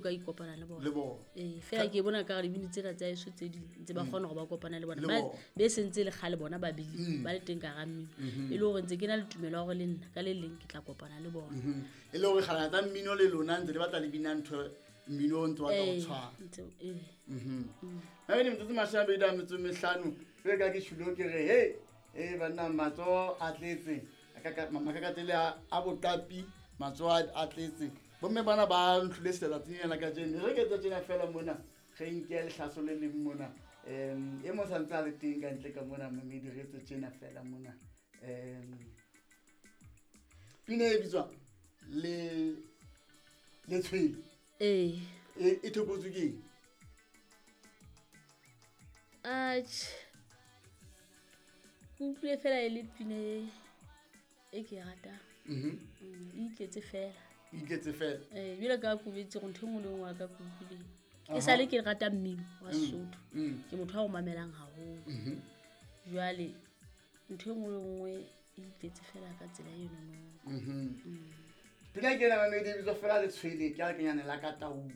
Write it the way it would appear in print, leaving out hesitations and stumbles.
Ka ikopana le bona. Le bona. Ee, fela ke bona ka gore dibini tsena tsa eso tse ding ntse ba kgona gore ba kopana le bona. Le Ba bona. Be sentse le kgale bona ba bile ba le teng ka ga mmino, e le gore ntse ke na le tumelo ya gore le nna ka le leng ke tla kopana le bona. E le gore kgalana tsa mmino le lona ntse le batla le bina ntho mmino o ntse o batla go Ee, tshwana. ee. Mabedi metsotso 25 jale ka ke tšhulo ke re he e banna matsoho a tletse makakatele a boqapi, matsoho a tletse. Bomme bana ba ntlhole selatsatsing ena ka jeno re ke etsa tjena fela mona re nke lehlaso le leng mona, e mong santse a le teng ka ntle ka mona mamedi, re etse tjena fela mona. Pina e bitswang le letshwele. Ee. E thokotswe ke eng? Atjhe, ke utlwile fela e le pina e ke e ratang. E itletse fela. E itletse fela. Ee, jwale ka kobetse gore ntho e nngwe le nngwe wa ka ke utlwileng e sale ke rata mmino wa Sesotho. Ke motho wa go mamelang haholo. Jwale ntho e nngwe le nngwe e itletse fela ka tsela enono. Pina ke ena mamedi e bitswa fela letshwele, ke a lekenyane la ka taung.